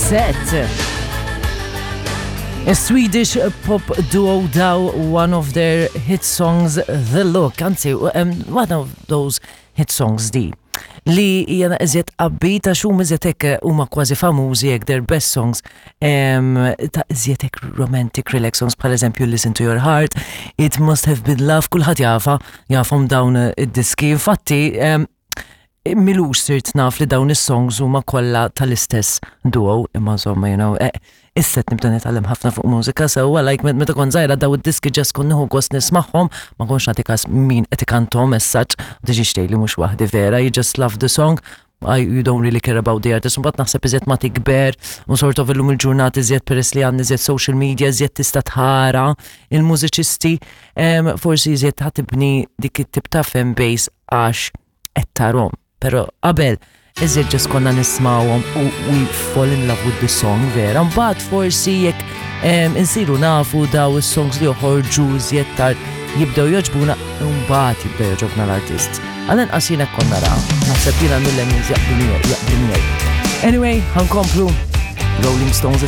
Roxette. A Swedish pop duo daw one of their hit songs, The Look, anzi, um, one of those hit songs di li jena iżjed upbeat għax huma iżjed hekk huma kważi famużi hekk their best songs ta' iżjed hekk romantic relax songs bħal eżempju Listen to Your Heart, It Must Have Been Love, kulħadd jafa, jafhom dawn id-diski. Infatti, milux sirt naf li dawn is-songs huma kollha tal-istess duo, imma insomma, you know, eh, issa qed nibda nitgħallem ħafna fuq mużika sewwa, like meta kont żgħira daw id-diski ġast kont nieħu gost nismagħhom, ma kontx nagħti każ min qed ikanthom as such, tiġix tgħidli mhux waħdi vera, you just love the song, I, you don't really care about the artist. Mbagħad naħseb iżjed ma tikber u sort of illum il-ġurnata iżjed peress li għandna iżjed social media, iżjed tista' tħara il-mużiċisti, forsi iżjed ħatibni dik it-tip ta' fan base għax qed tarhom. Però qabel iżjed ġas konna nismawhom u we fall in love with the song vera. Mbagħad forsi jekk insiru nafu daw is-songs li joħorġu iżjed tard jibdew joġbuna mbagħad jibdew joġobna l-artist. Għal-inqas jiena konna nara, naħseb jiena mill-millennials jaqblu miegħi, jaqblu miegħi. Anyway, ħankomplu Rolling Stones issa.